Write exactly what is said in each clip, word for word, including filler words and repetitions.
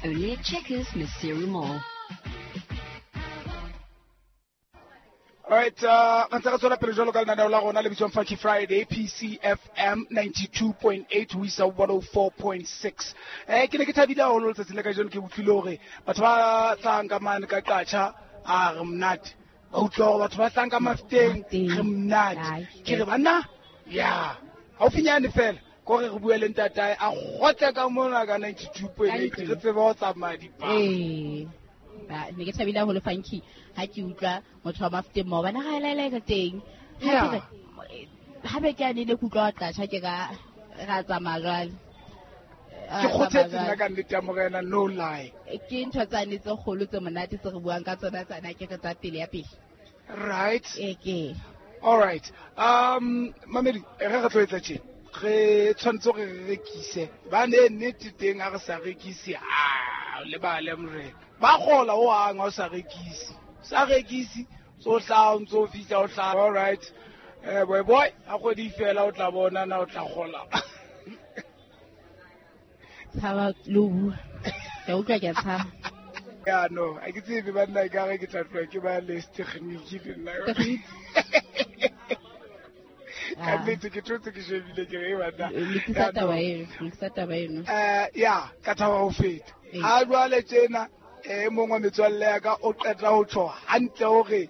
Only at Checkers, Maseru Mall. All right, uh, re ntse re tswela pele jwalo ka lenaneo la rona le bitswang Funky Friday, P C F M ninety-two point eight ho isa one oh four point six. Eh, ke ne ke thabile haholo letsatsi la kajeno, ke utlwile hore batho ba tlang ka mane ka Qacha, a re monate. Ba utlwa hore batho ba tlang ka Mafteng, re monate. Ke re banna, ya, haufinyane fela, ko re re bue le ntatae, a kgotle ka mona ka ninety-two point eight, re tsebe ho tsamaya dipalo. Eh. Ba ne ke thabile haholo Funky ha ke utlwa motho wa Mafteng maobane ga ela ela ka teng. Ha ke ha be ke a ne le kutlwa Qacha ke ka ra tsamaya jwale. Ke kgothetse nna ka nnete ya morena, no lie. Ke ntho tsane tse kgolo tse monate tse re buang ka tsona tsana ke re tsa pele ya pele. Right. E ke. All right. Um mamedi re re tlo etsa tje. Re tshwanetse re re rekise. Ba ne nnete teng ha re sa rekise. Ah, le ba le morena. Ba kgola o hang ha o sa rekise. Sa rekise so tla o ntso fihla o tla. All right. Eh boy boy, ha kgwedi fela o tla bona na o tla kgola. Tshaba lo bua. Ke utlwa ke tshaba. Ya no, a ke tsebe banna ka re ke tla tloha ke ba le technique le nna. Ka nnete ke thotse ke shebile ke re banna. Lokisa taba eno, lokisa taba eno. Eh ya, ka thaba ho feta. Ha jwale tjena e mongwe metswalle ya ka o qeta ho tjho hantle hore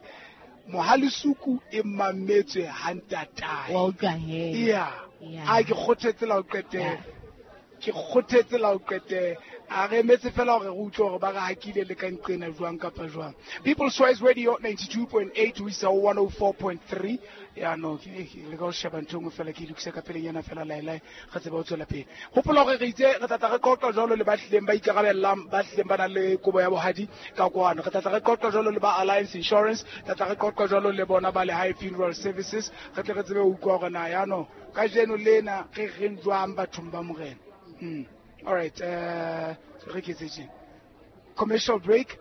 Mohalesuku e mametswe hantatae. Wa utlwa he. Ya. A ke kgothetse la o qetela. Ke kgothetse la o qetela. A re emetse fela hore re utlwe hore ba re hakile le ka nqena jwang kapa jwang. People's Choice Radio ninety-two point eight ho isa one oh four point three. Ya no, ke le ka ho sheba ntho nngwe fela ke lokise ka pelenyana fela laelae re tsebe ho tswela pele. Hopola hore re itse re tla tla re qoqa jwalo le ba hlileng ba ikarabellang, ba hlileng ba nang le kobo ya bohadi ka kwano. Re tla tla re qoqa jwalo le ba Alliance Insurance, tla tla re qoqa jwalo le bona ba Lehae Funeral Services. Re tle re tsebe ho utlwa hore na ya no kajeno lena re reng jwang bathong ba morena. Mm. All right, uh, re ke tse commercial break.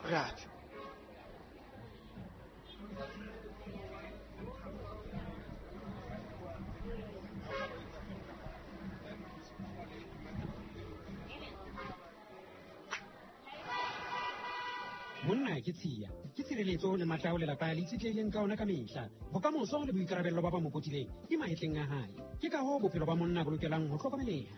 Right. Monna ke tshiya, ke tshireletso le matla ao lelapa le itshetlehileng ka ona ka mehla. Bokamoso le boikarabello ba ba mo potileng ke mahetleng a hae. Ke ka hoo bophelo ba monna bo lokelang ho hlokomeleha.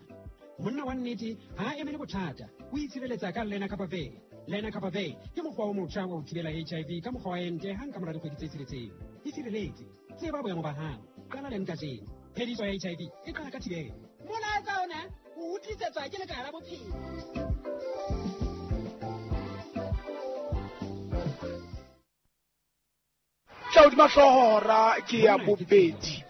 Monna wa nnete ha a emele bothata, o itshireletsa ka Lenacapavir. Lenacapavir ke mokgwa o motjha wa ho thibela H I V ka mokgwa wa ente hang ka mora dikgwedi tse tsheletseng. Itshireletse, tseba boemo ba hao, qala le kajeno. Phediso ya H I V e qala ka thibelo. Molaetsa ona o utlwisetswa ke Lekala la Bophelo. Tla hora ke ya bobedi.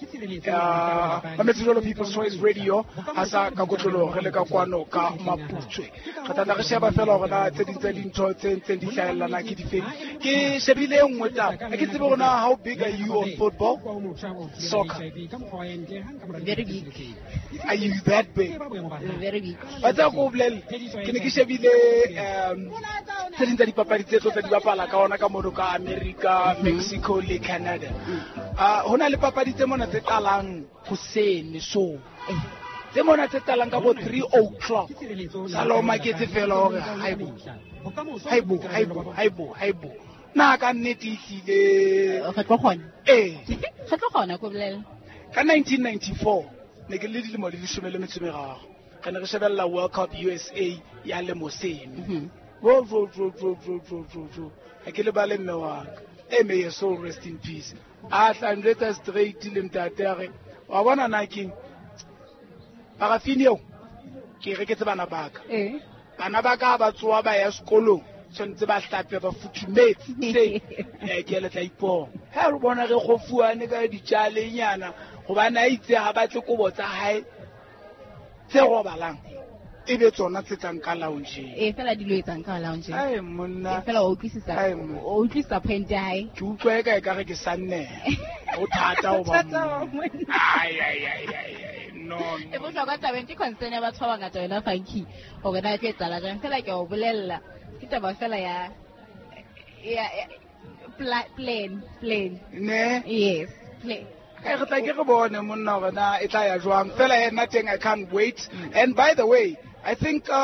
Mametse jwalo People's Choice Radio ha sa ka kotlolo re le ka kwano ka Maputswe. Re tla re sheba fela hore na tse ding tsa dintho tse ntseng di hlahellana ke difeng. Ke shebile e nngwe taba. Ha ke tsebe hore na how big are you on football? Soccer. Very big. Are you that big? Very big. Ba tsa ko bolelle. Ke ne ke shebile um tse ding tsa dipapadi tse tlo tsa di bapala ka ona ka mono ka America, Mexico le Canada. Ah, hona le papadi tse mona tse qalang hoseng so. Tse mona tse qalang ka bo three o'clock. Sala o maketse fela hore haibo. Haibo, haibo, haibo, haibo. Na ka nnete ehlile re tlo kgona. Eh. Re tlo kgona ko bolela. Ka nineteen ninety-four ne ke le dilemo di leshome le metso e meraro. Re ne re shebella World Cup U S A ya le Mosene. Ro ro ro ro ro ro ro ro. Ha ke lebale mme wa ka. E may your soul rest in peace. A tla njwetsa straight le ntate a re, wa bona na keng? Parafini eo ke reketse bana ba ka. Eh. Bana ba ka ba tsoa ba ya sekolong, tshwanetse ba hlape ba futhumetse. Eh ke le tla ipona. Ha re bona re kgofuane ka ditjalenyana hobane a itse ha batle kobo tsa hae tse robalang. E be tsona tse tlang ka lounge. Eh fela dilo etsang ka lounge. Ai monna. E fela o utlwisisa. O utlwisisa point ya hae. Ke utlwa e ka e ka re ke sanne. O thata o ba. Ai ai ai ai. No. E bohlokwa tabeng ke concern ya batho ba bangata yona Funky. Hore na e tlo etsahala jwang. Fela ke o bolella. Ke taba fela ya ya plan plan. Ne? Yes, plan. Re tla ke re bone monna hore na e tla ya jwang. Fela yena teng I can't wait. And by the way, I think uh,